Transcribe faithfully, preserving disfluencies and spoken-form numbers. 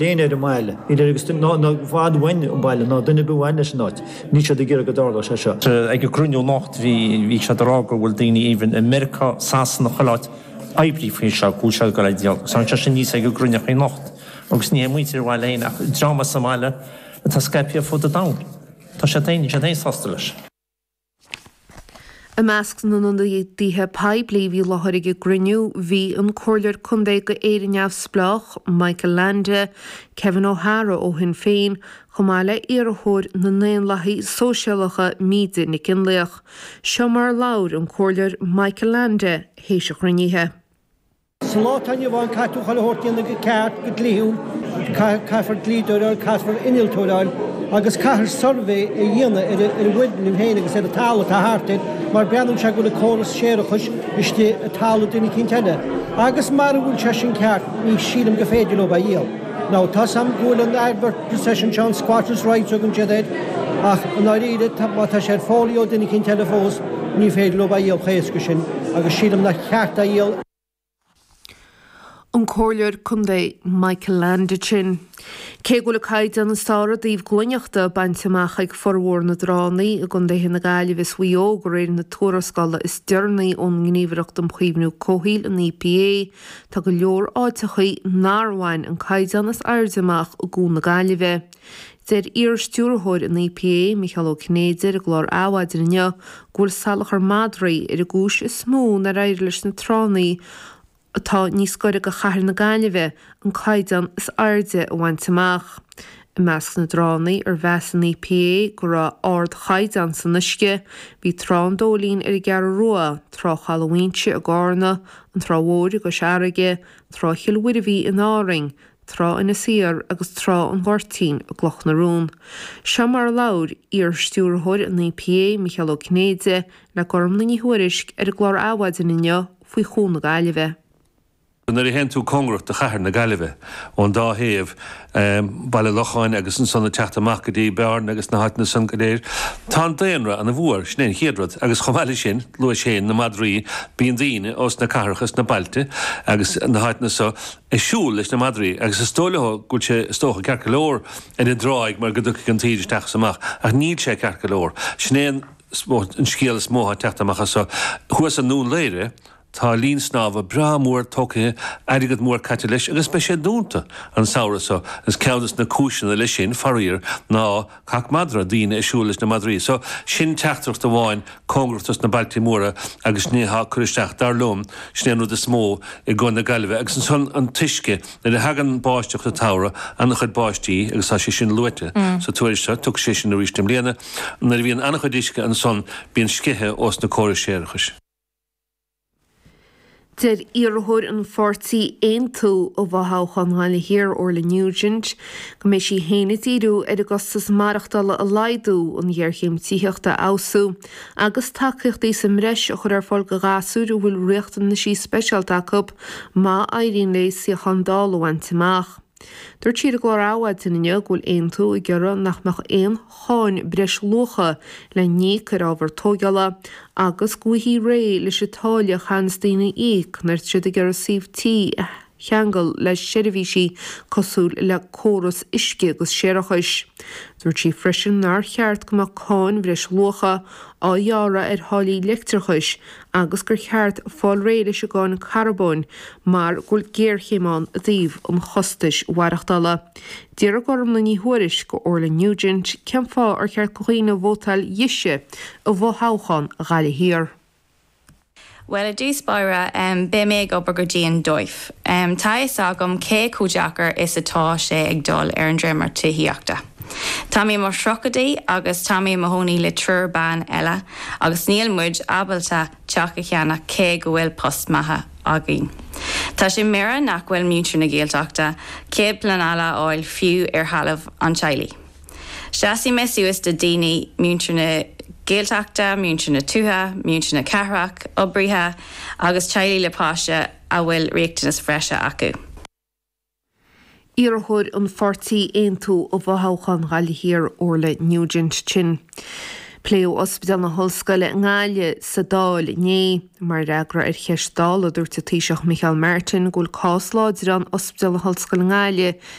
Éinne ar an mbaile, níl agus ná fad bhain an baile ná duine bhain leis an áit, níl siad ag iarraidh go dtarlódh sé seo. Ag an gcruinniú anocht bhí bhí siad ag rá go bhfuil daoine even i Meiriceá Sasana chuile áit oibrí faoi seo go bhfuil siad go le díol. Tá sé sin níos ag an gcruinniú anocht agus ní muintir bhaile féin ach dream sa mbaile atá scaipthe fud an domhain. Tá sé féin sé féin sásta leis. I measc na n-ionadaithe poiblí bhí i láthair ag an gcruinniú bhí an Comhairleoir Contae go Éire Neamhspleách Michael Leainde, Kevin O'Hara ó Shinn Féin, chomh maith le iarrthóir na nDaonlathaithe Sóisialacha Míde Nic Fhionnlaoich. Seo mar labhair an Comhairleoir Michael Leainde théis an chruinnithe. Sa lá atá inniu ann caithfidh tú chuile shórt a dhéanamh go ceart go dlíthiúil, caithfear dlíodóir a fháil, caithfear innealtóir a fháil, agus caithfear suirbhé a dhéanamh ar an bhfoirgneamh féin agus ar an talamh atá thart air, mar breathnaíonn sé go bhfuil an córas séarachais istigh i talamh duine eicínt eile. Agus mara bhfuil sé sin ceart, ní sílim go féidir leo é a dhíol. Now, tá 's a'm go bhfuil an advert possession seo an squatters rights tugann siad air, ach i ndáiríre má tá sé ar fólaí ó duine eicínt eile fós, ní féidir leo é a dhíol chomh héasca sin, agus sílim nach ceart é a dhíol. An Comhairleoir Contae Michael Leainde sin. Cé go bhfuil an caighdeán is fearr i dtaobh glaineachta bainte amach ag formhór na dtránna i gContaetha na Gaillimhe is Mhaigh Eo de réir na tuarascála is deireanaí ón nGníomhaireacht um Chaomhnú Comhshaoil an EPA, tá go leor áiteachaí nár bhain an caighdeán is airde amach i gCuan na Gaillimhe. Deir iar-stiúrthóir an EPA Micheál Ó Cinnéide ar an gclár Adhmhaidin inniu go bhfuil salachar madraí ar an gcúis is mó nár éirigh leis na tránna atá níos gaire go chathair na Gaillimhe an caighdeán is airde a bhaint amach. I measc na dtránna ar mheas an EPA go raibh ardchaighdeán san uisce, bhí Trá an Dóilín ar an gCeathrú Rua, Trá Chaladh Mhaínse i gCarna, an Trá Mhór i gCois Fharraige, Trá Chill Mhuirbhigh in Árainn, Trá Inis Oírr agus Trá an Ghoirtín i gCloch na Rón. Seo mar a labhair iar-stiúrthóir an EPA Micheál Ó Cinnéide le Gormlaith Ní Thuairisg ar an gclár Adhmhaidin inniu faoi Chuan na Gaillimhe. Nuair a théann tú cóngarach do chathair na Gaillimhe ón dá thaobh Baile Locháin agus ansan ag teacht amach go dtí Bearna agus na háiteanna san go léir, tá an daonra ana-mhór, sin é an chéad rud, agus chomh maith leis sin, luais féin na madraí, bíonn daoine ós na cathracha is na bailte agus na háiteanna so ag siúl leis na madraí agus is dóigh leo go bhfuil sé is dócha ceart go leor ar an dtráigh mar go dtiocfaidh an taoide isteach is amach ach níl sé ceart go leor. Sin é an an scéal is mó atá ag teacht amach as so. Thuas i nDún Laoghaire, Tá linn snámha breá mór tógtha, airgead mór caite leis agus beidh sé dúnta an samhradh so. Is ceann des na cúiseanna leis sin, faraor, ná cac madra, daoine ag siúl leis na madraí. So, sin teachtaireacht amháin cóngarach dos na bailtí móra agus sin é atá ag cur isteach, dar liom, sin é an rud is mó i gCuan na Gaillimhe. Agus ansan an t-uisce, nuair a thagann báisteach sa tsamhradh, an-chuid báistí agus tá sé sin luaite sa tuairisc seo, tiocfaidh sé sin arís i mbliana, nuair a bhíonn an-chuid uisce ansan bíonn sceitheadh ós na córais séarachais. Deir iarrthóir an pháirtí Aontú i bhfothoghchán Ghaillimh Thiar, Orla Nugent, go mbeidh sí féin ag díriú ar an gcostas maireachtála a laghdú, an ghéarchéim tithíochta a fheabhsú agus tacaíochtaí sa mbreis a chur ar fáil do ghasúir a bhfuil riachtanaisí speisialta acu má éiríonn léi suíochán Dála a bhaint amach. Dúirt sí ar an gclár Adhmhaidin inniu go bhfuil Aontú ag iarraidh nach mbeadh aon cháin breisluacha le n-íoc ar ábhar tóigeála agus go bhfaighfí réidh leis an táille a chaitheanns daoine a íoc nuair atá siad ag iarraidh suíomh tí a cheangal le seirbhísí cosúil le córas uisce agus séarachais. Dúirt sí freisin nár cheart go mbeadh cáin bhreisluacha á ghearradh ar tháillí leictreachais agus gur cheart fáil réidh leis an gcáin carbóin mar go bhfuil géarchéim ann i dtaobh an chostais mhaireachtála. D'fhiafraigh Gormlaith Ní Thuairisg de Orla Nugent cén fáth ar cheart do dhaoine vótáil dhise i bhfothoghchán Ghaillimh Thiar. Bhuel, i dtús báire, beidh mé ag obair go dian dóibh. Tá a fhios agam cé chomh deacair is atá sé ag dul ar an dréimire tithíochta. Tá mé i mo thríochaidí agus tá mé i mo chónaí le triúr ban eile agus níl muid ábalta teach a cheannach cé go bhfuil post maith againn. Tá sé míorúilteach nach bhfuil muintir na Gaeltachta cead pleanála a fháil fiú ar thalamh an teaghlaigh. Seasfaidh mé suas do daoine, muintir na Gaeltachta, muintir na tuaithe, muintir na cathrach, oibrithe agus teaghlaigh le páiste a bhfuil riachtanais bhreise acu. Iarrthóir an pháirtí Aontú i bhfothoghchán Ghaillimh Thiar, Orla Nugent sin. Pléadh Ospidéal na hOllscoile i nGaillimh sa Dáil inné. Mar fhreagra ar cheist Dála, dúirt an Taoiseach Micheál Martin go bhfuil cás láidir ann Ospidéal na hOllscoile i nGaillimh